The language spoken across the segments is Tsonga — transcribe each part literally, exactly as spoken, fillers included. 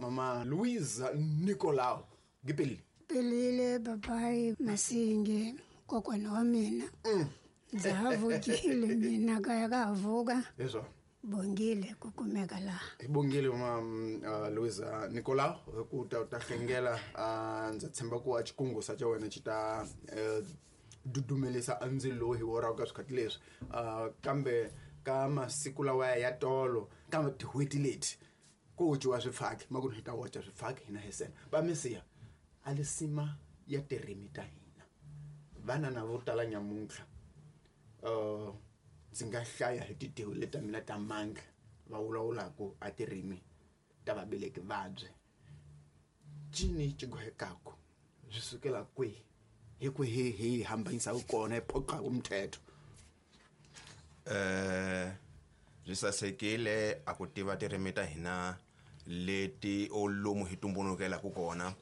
Mama Louise Nicolau gipelile pelile papai Masinge kokwana wa mina ndza ha vukile mina kaya ka vuka leswo bongile ku kumeka laha hi bongile mama uh, Louise Nicolau ku ta ta hlengela uh, ndza tshemba ku a xikungusa xa wena xi ta uh, dudumelisa andzilo hi woraka ka swikhathi leswi uh, kambe ka masiku lawa ya tolo ka tin'hweti leti ku dyiwa swifaki ma ku hi ta wacha swifaki hina hi sena va misiya a lisima ya tirimi ta hina vana na vo tala nyamuntlha uh, ndzi nga hlaya hi titewu leta mina ta mandla va vulavulaka a tirimi ta vabeleki vabye cini xi swi sukela kwihi hi kwihi hi hambanyisaka kona hi phoqaka mthetho eh swi sasekile a ku tiva tirimi ta hina leti o lomu hi tumbulukelaka kona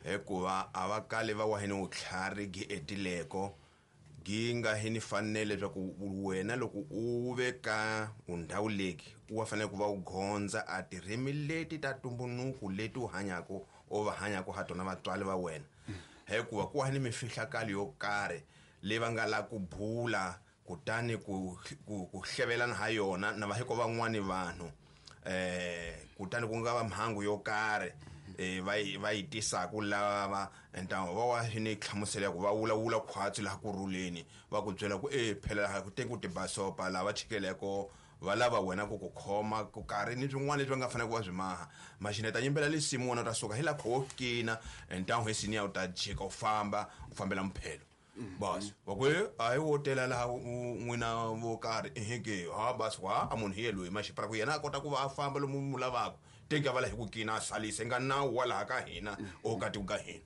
hikuva a va kali va wa hini vutlhari gi etileko gi nga hini fanele leswaku wena loko u ve ka undhawu leki u wa fanele ku va u gondza a tirimi leti ta tumbunuku leti u hanyaka o va hanyaka ha tona vatswari va wena hikuva ku wa ni mifihlakalo yo karhi leyi va nga la ku bula kutani ku ku, ku hlevelana ha yona na va hiko van'wani vanhu eh kutani ku nga va mhangu yo karhi eh va va yi tisaka lava ntawo va wa ni hlamusela ku va vulavula khwatsi laha ku rhuleni va ku byela ku eh phela laha ku teki ku tibasopa lava chikeleko va lava wena ku ku khoma ku karhi ni swin'wana leswi va nga fanele ku va swi maha maxineta yimbela lisimu wena u ta suka hi laha kho kina ntawo hi siniya u ta jika u famba u fambela mphelo bas wa ku a hi wo tela laha n'wina vo karhi eheke ha bas wa a munhu hi loyi maxipara ku yena a kota ku va a famba lomu mu lavaka teka va la hi ku kina a salise nga nawu wa laha ka hina o ka tiko ka hina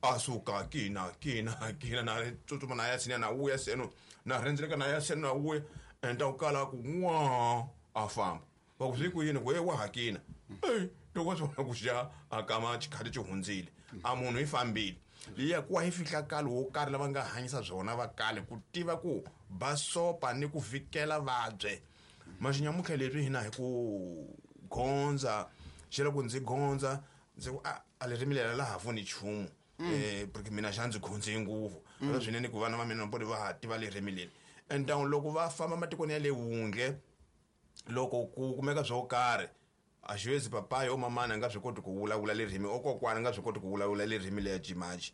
a suka kina kina kina na tsutsuma na ya sina na wuya seno na rhendzeleka na ya seno na wuya enta u kala ku n'wa a famba va ku swi ku yini ku wa hakina ey loko swi vona ku xa a kama xikhati xi hundzile a munhu i fambile liya ku wa hi fihlakalo wo karhi lava nga hanyisa byona va kale ku tiva ku basopa ni ku fikela vabye maxinyamutlha leswi hina hi ku gondza xi loko ndzi gondza ndzi ku a a ririmi leri laha pfuni nchumu eh porque mina xa ndzi gondze ngopfu mm. swinene ku vana va mina va va ha tiva ririmi leri and loko va famba matikweni ya le wundle loko ku kumeka swo karhi a xivezi papayi o mamana a nga swi koti ku vulavula ririmi o kokwana a nga swi koti ku vulavula ririmi leya jimaji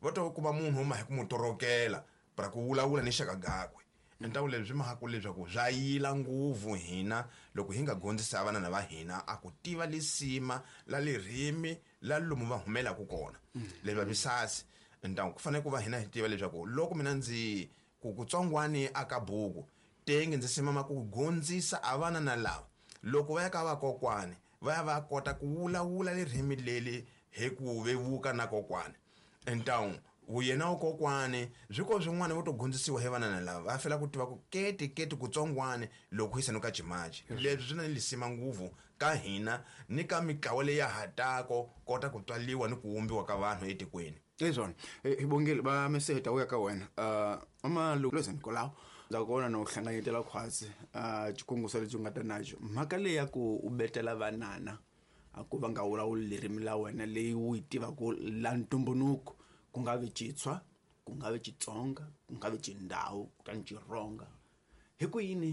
va to kuma munhu uma hi ku mu torokela para ku vulavula ni xaka gakwe ntawu leswi swi mahaku leswaku swa yila nguvu hina loko hi nga gondzisa vana va hina a ku tiva lisima la ririmi la lomu va humelaka kona leswi va misasi ntawu ku fanele ku va hina hi tiva leswaku loko mina ndzi ku kutsongwani aka buku tenge ndzi simama ku gondzisa a vana na lava loko va ya ka vakokwani va ya va kota ku vulavula ririmi leri hi ku vevuka na kokwani ntawu wuyena wa kokwani swi ko swin'wana vo to gondzisiwa hi vana na lava va fela ku tiva ku keti keti kutsongwani loko hi sanuka jimaji leswi swi na lisima nguvu ka hina ni ka mitlawa leyi ya hatako kota ku tswaliwa ni ku wumbiwa ka vanhu etikweni leswona hi bongile va meseta u ya ka wena uh mama Louise Nicolau ndza kona no hlanganyetela khwatsi uh xikunguso lexi u nga ta naxo mhaka leyi ya ku u betela vanana a ku va nga vulavuli ririmi la wena leyi u yi tivaka la ntumbunuko ku nga vi Xitswa ku nga vi Xitsonga ku nga vi Xindhawu kutani Xironga hi ku yini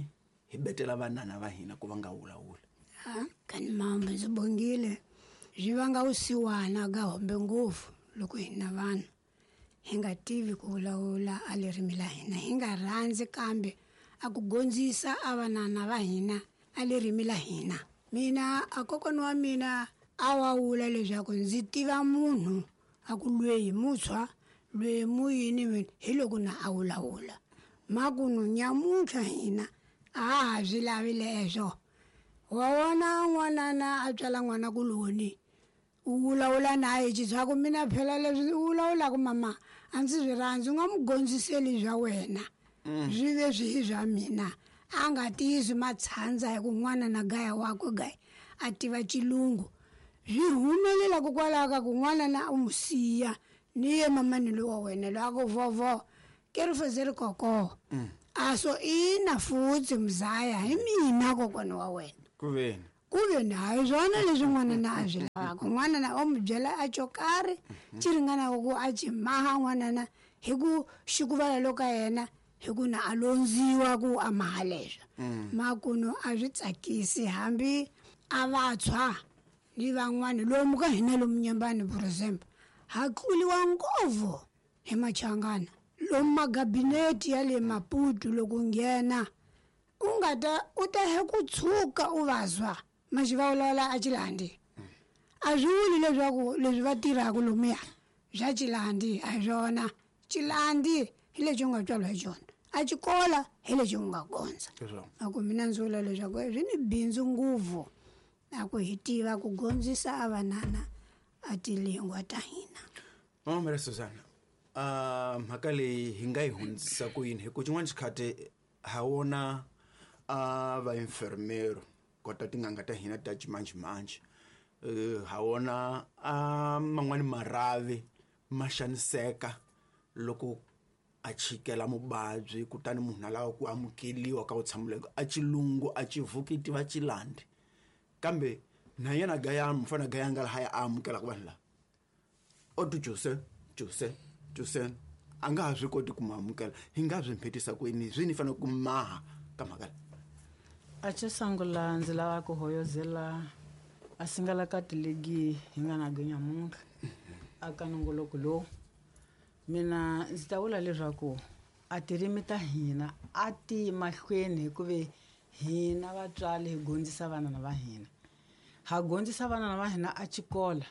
hi betela vanana va hina ku va nga vulavuli ha kani mambo ndzi bongile swi vanga vusiwana ka hombe ngopfu loko hina vanhu hi nga tivi ku vulavula a ririmi la hina hi nga rhandzi kambe a ku gondzisa a vanana va hina a ririmi la hina mina a kokwana wa mina a wa vula leswaku ndzi tiva munhu a ku lweyi mutshwa lweyi muyini mina hi loko na a vulavula makunu nyamuntlha hina a ha swi lavi leswo wa wona n'wanana a tswala n'wana kuloni u vulavula na ye xitswaku mina phela leswi u vulavulaka mama a ndzi swi rhandzi u nga mu gondziseli swa wena swi ve swi swa mina a nga tiyisi matshandza hi ku n'wana na gaya wakwe gaya a tiva xilungu swi humelela kokwalaho ka ku n'wana na u mu siya ni ye mamani loyi wa wena loyi a ku vovo ke ri feze ri koko a so ina futhi mzaya hi mina kokwana wa wena ku veni Ku ve ni hayi swona leswi n'wanana a swi lavaka. N'wanana o n'wi byela a xo karhi xi ringanaka ku a xi maha n'wanana hi ku xikuvala loko ka yena hi ku na a londziwa ku a maha leswo. Makuno a swi tsakisi hambi a vantshwa ni van'wani lomu ka hina lomu Nyembani, for example, ha tluliwa ngopfu hi Machangana. Lomu magabinete ya le Maputo loko nghena u nga ta u ta he ku tshuka u vazwa maxivulavula a Xilandi. A swi vuli leswaku leswi va tirhaka lomuya bya Xilandi a hi swona. Xilandi hi lexi u nga tswariwa hi xona, a xikola hi lexi u nga gondza. A ku mina ndzi vula leswaku swi ni bindzu ngopfu a ku hi tiva ku gondzisa a vanana a tilingwa ta hina. Mama Maria Susanna, uh, mhaka leyi hi nga yi hundzisa ku yini? Hi ku xin'wana xikhathi ha wona a va infermero kota tin'anga ta hina ta ximanjhemanjhe, uh, ha wona a man'wani marhavi ma xaniseka loko a chikela muvabyi, kutani munhu a lava ku amukeliwa ka vutshambuleko a xilungu a xivuki tiva Xilandi, kambe na yena gaya mufana gaya nga laha ya amukelaka vanhu lava o tu Jose Jose Jose a nga ha swi koti ku mu amukela. Hi nga swi mphetisa ku yini? Swi ni fanele ku maha ka mhaka leyi? A xo sungula ndzi lava ku hoyozela a singala ka tiligi hi nga na nyamuntlha a ka nongoloko lowu. Mina ndzi ta vula leswaku a tirimi ta hina a ti mahlweni hikuva hina vatswari hi gondzisa vana va hina. Ha gondzisa vana va hina a xikola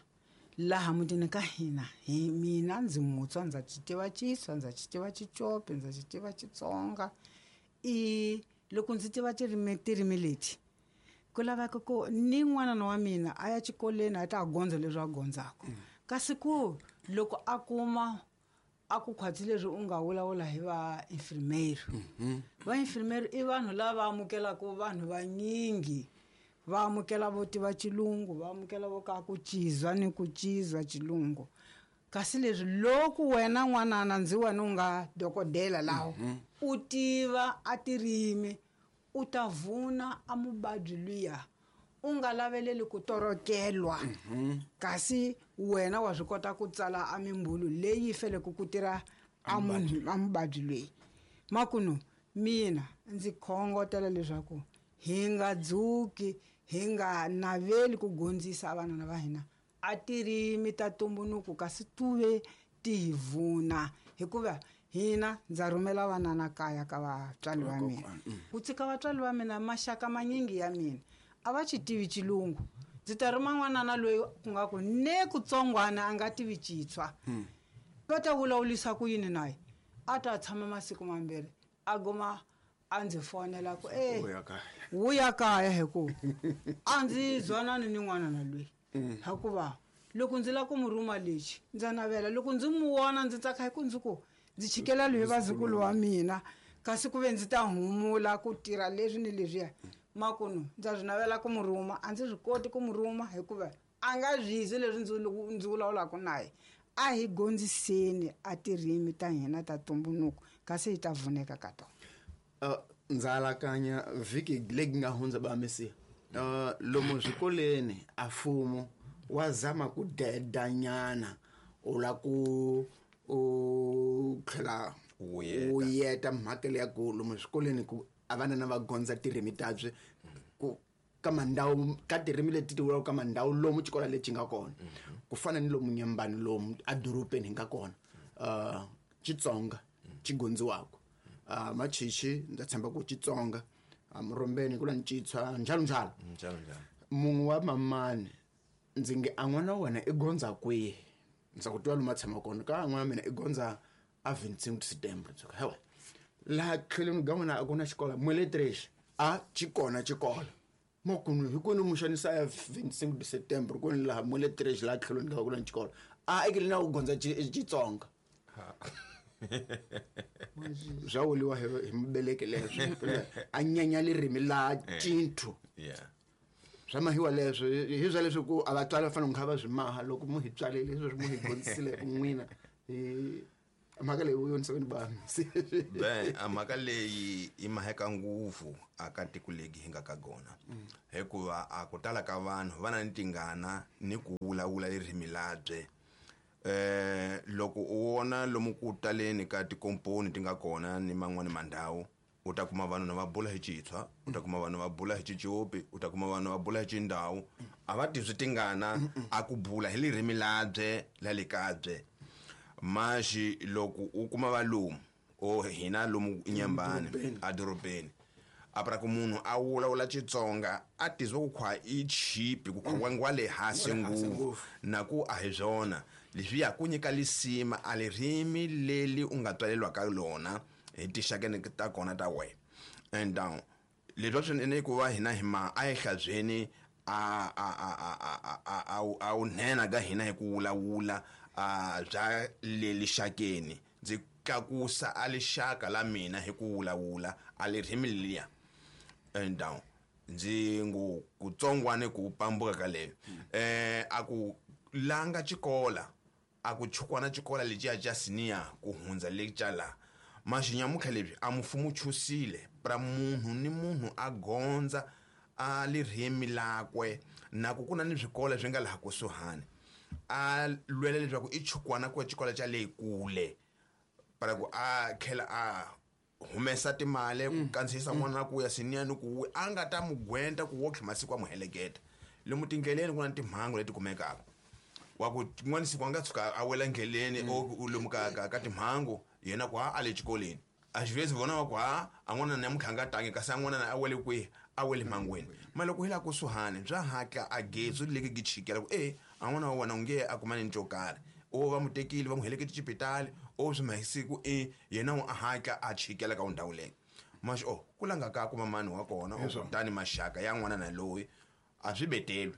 laha mutini ka hina. Hi mina ndzi Mutswa, ndza xi tiva Xitswa, ndza xi tiva Xicopi, ndza xi tiva Xitsonga. I loko ndzi tiva tirimi tirimi leti ku laveka ku ni n'wanana wa mina a ya xikolweni a ta gondza leswi a gondzaka. Kasi ku loko a kuma a ku khwatsi leswi u nga vulavula hi va infirmeri. Va infirmeri i vanhu lava amukelaka vanhu vanyingi, va amukela vo tiva xilungu, va amukela vo ka ku cizwa ni ku cizwa xilungu. Kasi leswi loko wena n'wanana ndzi wena u nga dokodela laho u tiva a tirimi, u ta vuna a muvabyi luya u nga laveleli ku torokelwa. Kasi wena wa swi kota ku tsala a mimbulu leyi faneleke ku tirha a munhu a muvabyi loyi. Makuno mina ndzi khongotela leswaku hi nga dzuki, hi nga naveli ku gondzisa vanana va hina a tirimi ta tumbuluko, kasi tuve ti hi vuna. Hikuva hina ndza rhumela vanana kaya ka vatswari va mina. Ku tshika vatswari va mina maxaka manyingi ya mina a va xi tivi xilungu. Ndzi ta rhuma n'wanana loyi ku nga ku ne kutsongwana a nga tivi Xitswa. Va ta vulavurisa ku yini naye? A ta tshama masiku mambirhi a goma a ndzi fonela ku eh wuya kaya hi ku a ndzi zwanani ni n'wanana loyi. Hikuva loko ndzi lava ku mu rhuma lexi ndza navela, loko ndzi mu vona ndzi tsaka hi ku ndzi ku ndzi chikela loyi vazukulu wa mina, kasi ku ve ndzi ta humula ku tirha leswi ni leswiya. Makuno ndza swi navela ku mu rhuma, a ndzi swi koti ku mu rhuma hikuva a nga zwizi leswi ndzi ndzi vulavulaka naye. A hi gondziseni a tirimi ta hina ta tumbuluko, kasi hi ta vuneka ka tona. Uh, ndza alakanya vhiki leyi nga hundza ba Mesiya, uh, lomu swikolweni a mfumo wa zama ku dedanyana u la ku u tlhela u yeta mhaka leya ku lomu swikolweni ku a vanana va gondza tirimi tabye ku ka mandhawu ka tirimi leti ti vulaka ka mandhawu lomu xikolo lexi nga kona, ku fana ni lomu Nyembani lomu edorobeni hi nga kona, uh, Xitsonga xi gondziwaka, uh, Machichi ndza tshemba ku Xitsonga, Murombeni ku la Ncitshwa njalo njalo njalo njalo. Munhu wa mamani ndzi nge a n'wana wa wena i gondza kwihi? Ndza ku twa lomu a tshama kona ka n'wana wa mina i gondza a vingt-cinq Septembre. Ndzi ku hewa laha tlhelweni ka n'wina a ku na xikolo Mweletrexi a xi kona xikolo makuno hi kwini mu xanisa ya vingt-cinq Septembre kwini laha Mweletrexi laha tlhelweni ka ku na xikolo a ekele na ku gondza Xitsonga. Swa vuriwa hi mubeleki leswi a nyanya ririmi la Cinthu. Swa mahiwa leswo hi swa leswi ku a vatswari va fanele ku kha va swi maha loko mu hi tswalele leswi mu hi gondzisile ku n'wina hi Mhaka leyi u yonisaka ni bani. Be a mhaka leyi i maheka ngopfu aka tiko legi hi nga ka gona. Hikuva a ku tala ka vanhu va na ni tingana ni ku vulavula ririmi labye. Eh loko u vona lomu ku taleni ka tikomponi ti nga kona ni man'wani mandhawu, u ta kuma vanhu va bula hi Xitshwa, u ta kuma vanhu va bula hi Xicopi, u ta kuma vanhu va bula hi Xindhawu. A va tizwi tingana a ku bula hi ririmi labye la le kabye. Maxi loko u kuma valumu o hina lomu Nyambani a dorobeni, a pra ku munhu a vulavula Xitsonga a tizwa ku khwa i chipi ku khwa ngwa le hansi ngopfu, na ku a hi swona leswi ya ku nyika lisima a ririmi leli u nga tswalelwa ka lona hi tixakeni ta kona ta wena. And down leswi swinene ku va hina hi ma a hi hlabyeni a a a a a a a wu nhenha ka hina hi ku vulavula a bya le lixakeni. Ndzi tlakusa a lixaka la mina hi ku vulavula a ririmi leliya. And down ndzi ngu kutsongwane ku pambuka ka leyo. Eh a ku langa xikola a ku chukwana xikola lexiya xa senior ku hundza le xa la. Maxinyamutlha lebyi a mfumo chusile pra munhu ni munhu a gondza a ririmi lakwe, na ku ku na ni swikolo swi nga laha kusuhani. A lwela leswaku i chukwana ku xikolo xa le kule para ku a tlhela a humesa timali ku kandziyisa n'wana ku ya senior ni ku a nga ta mugwenta ku wo tlhela masiku a mu heleketa. Lomu tindleleni ku na timhangu leti kumekaka. Wa ku n'wana siku a nga tshuka a wela ndleleni o lomu ka ka ka timhangu yena ku a le xikolweni. A xivezi vona wa ku ha a n'wana na mutlhanga nga tangi kasi a n'wana a wele kwihi, a wele mangweni. Ma loko hi la kusuhani bya hatla a getsu leki gi chikela ku e a n'wana wa wena u nge a kumani ni xo karhi. O va mu tekile va mu helekete xipitali o swi masiku e yena u a hatla a chikela ka ndhawu leyi. Maxi o ku langa ka kuma mani wa kona o kutani maxaka ya n'wana na loyi a swi betelwi.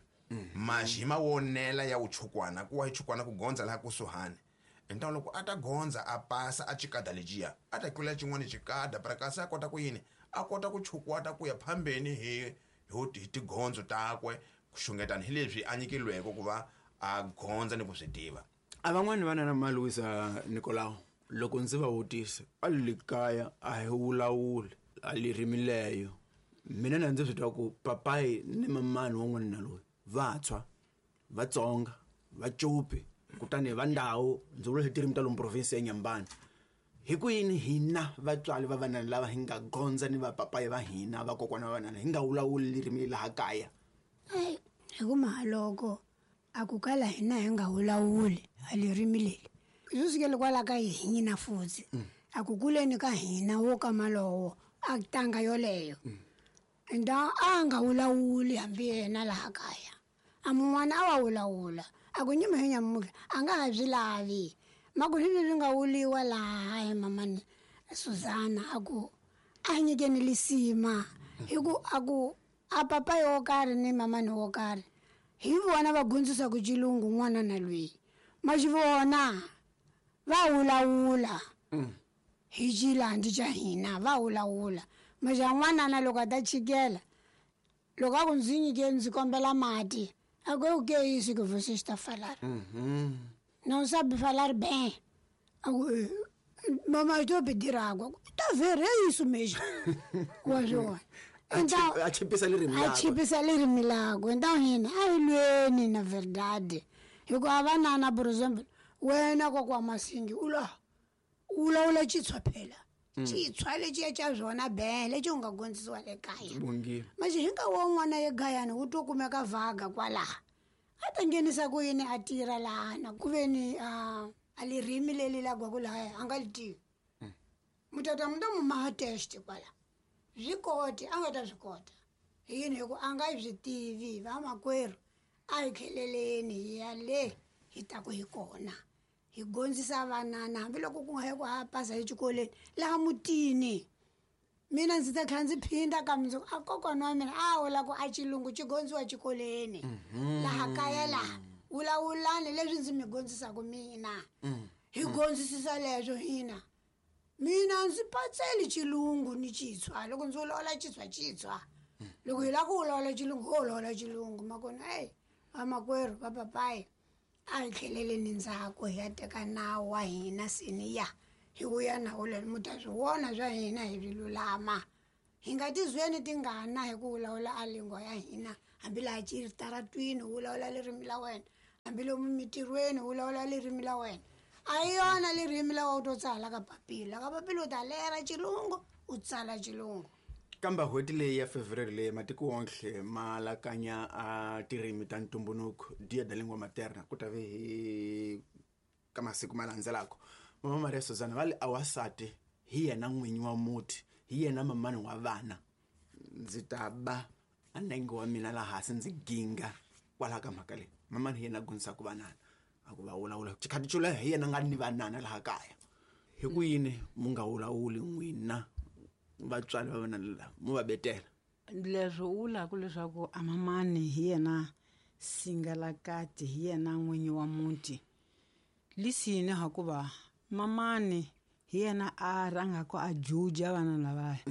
Maxi hi mawonela ya uchukwana ku wa hi chukwana ku gondza laha kusuhani. Então loko a ta gondza a pasa a chikada lexiya a ta tlula xin'wana xikada para kasi a kota ku yini a kota ku chukwata ku ya phambeni hi hi tigondzo takwe ku xungetana hi leswi a nyikilweke ku va a gondza ni ku swi tiva. A van'wani vana na Maluisa Nicolau loko ndzi va vutisa a le kaya a hi vulavuli a ririmi leyo, mina na ndzi swi twa ku papayi ni mamani wa n'wana na loyi Vatswa, Vatsonga, Vacopi kutani va ndhawu ndzi vula hi tirimi ta lomu province ya Nyambani. Hi ku yini hina vatswari va vanana lava hi nga gondza ni vapapayi va hina vakokwana va vanana hi nga vulavuli ririmi laha kaya? Ai hi ku mahaloko a ku kala hina hi nga vulavuli a ririmi leri swi sukele kwala ka hina futhi a ku kuleni ka hina wo ka malowo a tanga yoleyo. Enda a nga vulavuli hambi yena laha kaya a mun'wana a wa vulavula a ku nyima hi nyamutlha a nga ha byi lavi. Ma ku leswi swi nga vuliwa laha hi mamani Suzana a ku a nyikeni lisima hi ku a ku a papayi wo karhi ni mamani wo karhi hi vona va gondzisaka xilungu n'wana na loyi ma xi vona va vulavula hi xilandi xa hina va vulavula. Maxa n'wanana loko a ta chikela loko a ku ndzi nyike ndzi kombela mati a ku o que é isso que você está a falar? Não sabe falar bem. A ku mamãe estou a pedir água. Tá a ver, é isso mesmo. Wa swona. Então a chipisa ririmi a chipisa ririmi lakwe. Então hina a hi lweni na verdade. Hikuva vanana por exemplo wena kokwa Masingi u la u vulavula Xitswa phela. Xitswa lexiya xa swona be lexi u nga gondzisiwa le kaya. Maxi hi nkarhi wun'wana egayani wu to kumeka vhaga kwalaha a ta nghenisa ku yini a tirha lahana ku ve ni a a ririmi leri lagwaku lahaya a nga li tivi. Mutata mi ta mu maha test kwala swi koti a nga ta swi kota hi yini hi ku a nga swi tivi. Vamakwerhu a hi tlheleleni hi ya le hi taku hi kona hi gondzisa vanana hambiloko ku nga yi ku ha pasa exikolweni laha mutini. Mina ndzi ta tlhela ndzi phinda ka mundzuku a kokwana wa mina a vula ku a xilungu xi gondziwa xikolweni laha kaya laha vulavulani leswi ndzi mi gondzisaka mina hi gondzisisa leswo hina. Mina ndzi patseli xilungu ni Xitswa loko ndzi vulavula Xitswa Xitswa loko hi lava ku vulavula xilungu ho vulavula xilungu makona eyi vamakwerhu va papayi a hi tlheleleni ndzhaku hi ya teka nawu wa hina seniya Hi vuya na wona mi ta swi vona swa hina hi swi lulama. Hi nga tizweni tingana hi ku vulavula a lingua ya hina, hambi laha xitaratwini u vulavula ririmi la wena, hambi lomu mintirhweni u vulavula ririmi la wena. A hi yona ririmi la u to tsala ka papila, ka papila u ta lera xilungu u tsala xilungu. Kambe n'hweti leyi ya February leyi matiko wonke ma lakanya a tirimi ta ntumbuluko Dia da Língua Materna ku ta ve hi ka masiku ma landzelaka. Mama Maria Suzana va le awasati hi yena n'winyi wa muti, hi yena mamani wa vana. Ndzi ta ba a nenge wa mina laha hansi ndzi ginga kwalaho ka mhaka leyi. Mamani hi yena a gondzisaka vanana a ku va vulavula xikhati xo leha hi yena nga ni vanana laha kaya. Hi ku yini mu nga vulavuli n'wina vatswari va vana lava mu va betela? Leswi u vulaka leswaku a mamani hi yena singalakati, hi yena n'winyi wa muti, lisini hakuva mamani hi yena a rhangaka a juja vana lavaya.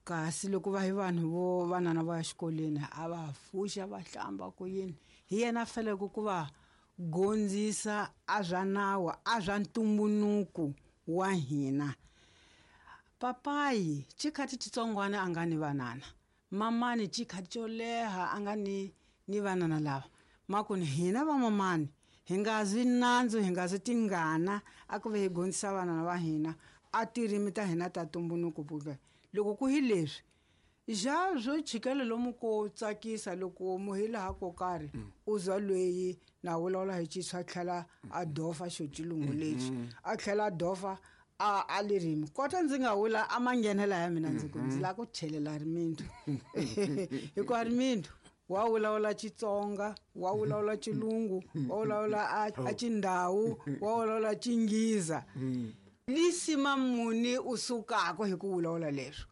Kasi loko va hi vanhu vo vanana va ya xikolweni a va pfuxa va hlamba ku yini, hi yena a faneleke ku va gondzisa a swa nawu a swa ntumbuluko wa hina. Papayi xikhati xitsongwana a nga ni vanana, mamani xikhati xo leha a nga ni ni vanana lava. Makuni hina va mamani hi nga zwi nandzu, hi nga zwi tingana a ku ve hi gondzisa vanana va hina a tirimi ta hina ta ntumbuluko. Buke loko ku hi leswi ja swo chikela lomu ko tsakisa loko mu hi laha ko karhi u zwa lweyi na vulavula hi xitshwa tlhela a dofa xo xilungu lexi a tlhela a dofa a a ririmi kota ndzi nga vula a manghenela ya mina ndzi ku ndzi lava ku chelela rimindu hikuva rimindu wa vulavula Xitsonga, wa vulavula Xilungu, wa vulavula a a Xindhawu, wa vulavula Xinghiza. Lisima muni u sukaka hi ku vulavula leswo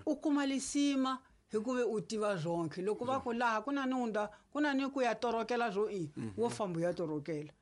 u kuma lisima hikuva u tiva zonke. Loko va ku laha ku na ni unda ku na ni ku ya torokela swo i wo famba ya torokela,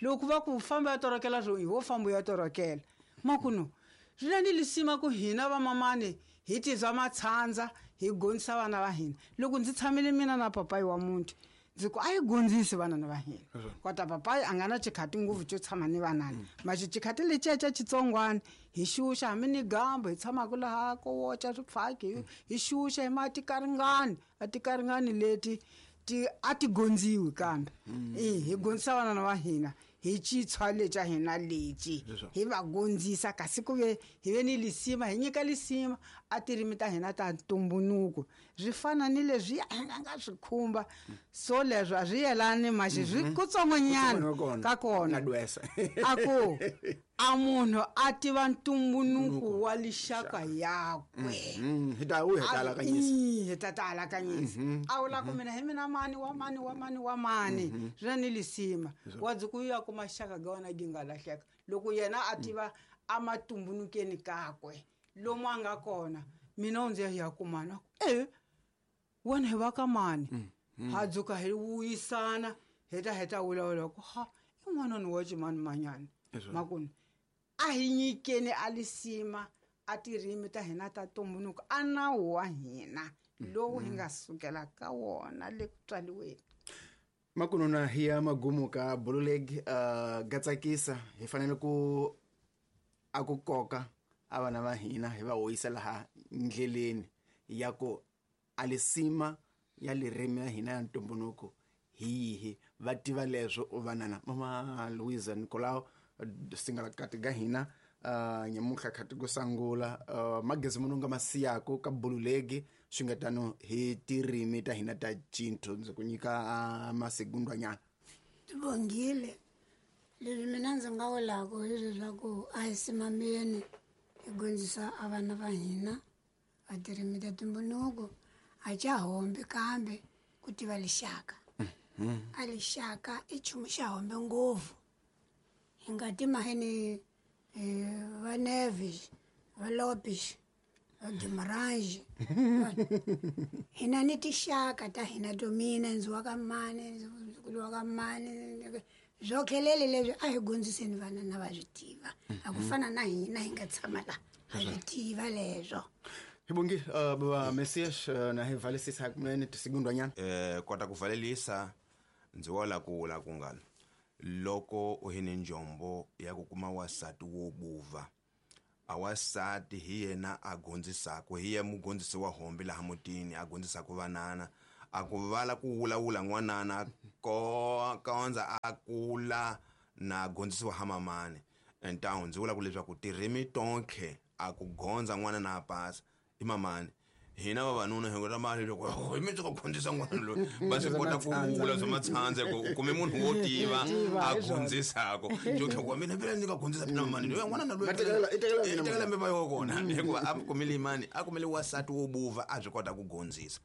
loko va ku famba ya torokela swo i wo famba ya torokela. Makuno swi na ni lisima ku hina vamamani hi tizwa matshandza hi gondzisa vana va hina. Loko ndzi tshamile mina na papayi wa muti ndzi ku a hi gondzisi vanana va hina, kota papayi a nga na xikhati ngopfu xo tshama ni vanana, maxi xikhati lexiya xa xitsongwana hi xuxa hambi ni gambo hi tshamaka laha ko woca swifaki hi xuxa hi mati karingani a tikaringani leti ti a ti gondziwi kambe i hi gondzisa vanana va hina hi xitshwa lexa hina lexi hi va gondzisa. Kasi ku ve hi ve ni lisima hi nyika lisima a tirimi ta hina ta ntumbuluko swi fana ni leswi hi nga nga swi khumba so leswo a swi yelani maxi swi kutsongonyana ka kona a ku a munhu a tiva ntumbuluko wa lixaka yakwe hi ta wu hi ta alakanyisa hi ta ta alakanyisa a vula ku mina hi mina mani wa mani wa mani wa mani swi na ni lisima wa dzi ku ya kuma xaka ga wena gi nga lahleka loko yena a tiva a matumbulukeni kakwe lomu a nga kona. Mina u ndzi ya ya kumana e wena hi va ka mani ha dzuka hi vuyisana hi ta hi ta vulavula ku ha i n'wanani wa ximani manyani. Makuni a hi nyikeni a lisima a tirimi ta hina ta ntumbuluko a nawu wa hina lowu hi nga sukela ka wona le ku tswaliweni. Makununa hi ya magumu ka bululeg uh, gatsakisa hi fanele ku a ku koka a vana va hina hi va hoyisa laha ndleleni ya ku a lisima ya ririmi ya hina ya ntumbuluko hi yihi va tiva leswo vanana. Mama Luisa Nicolau singalakati ga hina uh, nyamuhla khati ku sangula uh, magezi munhu nga masiyako ka bululegi swi nga tano hi tirimi ta hina ta cintu ndzi ku nyika uh, masigundwanyana. Tibongile leswi mina ndzi nga vulaka hi leswaku a hi simameni hi gondzisa a vana va hina a tirimi ta ntumbuluko a ca hombi kambe ku tiva lixaka. A lixaka i nchumu xa hombe ngopfu hi nga timaheni va Neves va Lopes va Guimarães hina ni tixaka ta hina to mina ndzi wa ka mani ndzukulu wa ka mani swo khelele leswi a hi gondziseni vana na va swi tiva a ku fana na hina hi nga tshama la ha swi tiva leswo. Hi bongi uh, baba Messias uh, na hi valisisa kunene tisigundwanyana eh kota ku valelisa ndzi wala ku la ku ngana loko u hi ni njombo ya ku kuma wasati wo buva A wasati hi yena a gondzisaka, hi ye mugondzisi wa hombe laha mutini a gondzisaka vanana. A ku vala ku vulavula n'wanana ko kondza a kula na gondzisiwa ha mamani. Entawu ndzi vula ku leswaku tirimi tonkhe a ku gondza n'wana na pasa i mamani. Hina vavanuna hi nga mali loko hi mi tsaka gondzisa n'wana loyi va swi kota ku vula swa matshandze ku u kume munhu wo tiva a gondzisako. Njo ku mina phela ndzi nga gondzisa phela mamani loyi n'wana na loyi i tekela mi va yo kona hikuva a kumile imani a kumile wasati wo buva a byi kota ku gondzisa.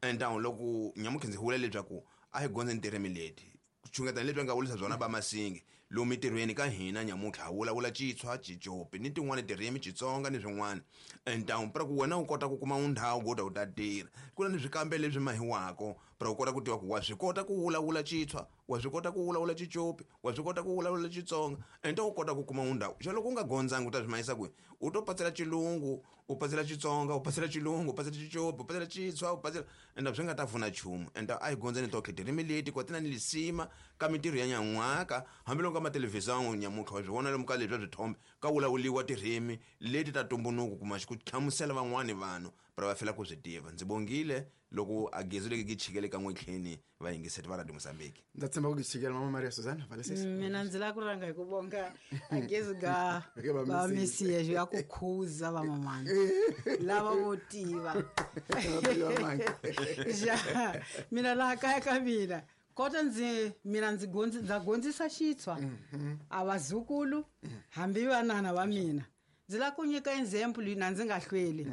Entawu loko nyamunkhe ndzi vula leswaku a hi gondzeni tirimi leti chungeta leswi nga vurisa byona ba Masingi lomu mitirhweni ka hina nyamuntlha ha vulavula Xitswa, Xicopi ni tin'wani tirimi Xitsonga ni swin'wana. Entawu pra ku wena u kota ku kuma ndhawu go ta u ta tirha ku na ni swikambelo leswi mahiwako pra u kota ku tiva ku wa swi kota ku vulavula Xitswa, wa swi kota ku vulavula Xicopi, wa swi kota ku vulavula Xitsonga. Entawu u kota ku kuma ndhawu xa loko u nga gondzangi u ta swi mahisa kwihi? U to patsela Xilungu, u patsela Xitsonga, u patsela Xilungu, u patsela Xicopi, u patsela Xitswa, u patsela enda swi nga ta pfuna nchumu. Enda a hi gondzeni tonkhe tirimi leti kwa ti na ni lisima ka mintirho ya nyan'waka hambiloko ka mathelevhizani nyamuntlha wa swi vona lomu ka leswi swa swithombe ka vulavuriwa tirimi leti ta ntumbuluko kuma ku hlamusela van'wani vanhu pra va fela ku swi tiva. Ndzi bongile loko a gezi leki chikele ka n'wetlheni va yingiseti va Radio Mozambique. Ndza tshemba ku chikela mama Maria Suzana valesisa. Mina ndzi lava ku rhanga hi ku vonga a gezi ga va Mesiya ya ku khuza va mamani lava vo tiva. Ja mina laha kaya ka mina kota ndzi mina ndzi gondzi ndza gondzisa Xitswa a vazukulu hambi vanana va mina. Ndzi lava ku nyika example na ndzi nga hlweli.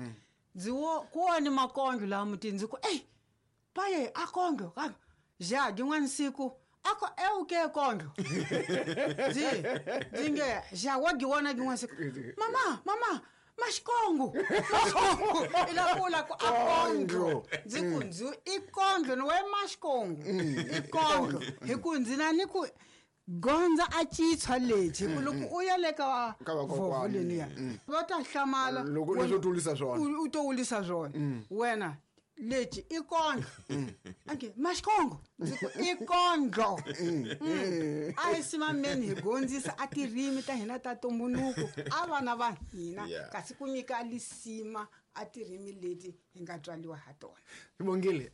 Ndzi wo ku wona makondlo laha mutini ndzi ku ey paye a kondlo ka ja din'wana siku a ko euke kondlo. Ndzi ndzi nge ja wa giwona din'wana siku mama mama Maxikongo Maxikongo i la vula ku a kondlo. Ndzi ku ndzi i kondlo ni we Maxikongo i kondlo hi ku ndzi na ni ku gondza a Xitswa lexi hi ku loko u ya le ka vovho leniya va ta hlamala loko leswo tulisa swona u to wulisa swona wena lexi i kondlo. Anke Maxikongo ndzi ku i kondlo. A hi simameni hi gondzisa a tirimi ta hina ta ntumbuluko a vana va hina kasi ku nyika lisima a tirimi leti hi nga tswaliwa ha tona. Bongile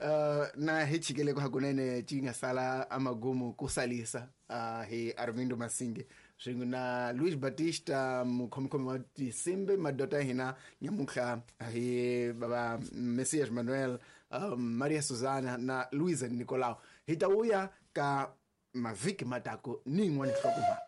na hi chikele ku hakunene ci nga sala amagumu ku salisa hi Armindo Masingi swin'we na Luis Batista mukhomikhomi wa tinsimbi madota ya hina nyamuntlha hi baba Messias Manuel, um, Maria Suzana na Luisa Nicolau. Hi ta vuya ka mavhiki matako ni yin'wana nhlokomhaka.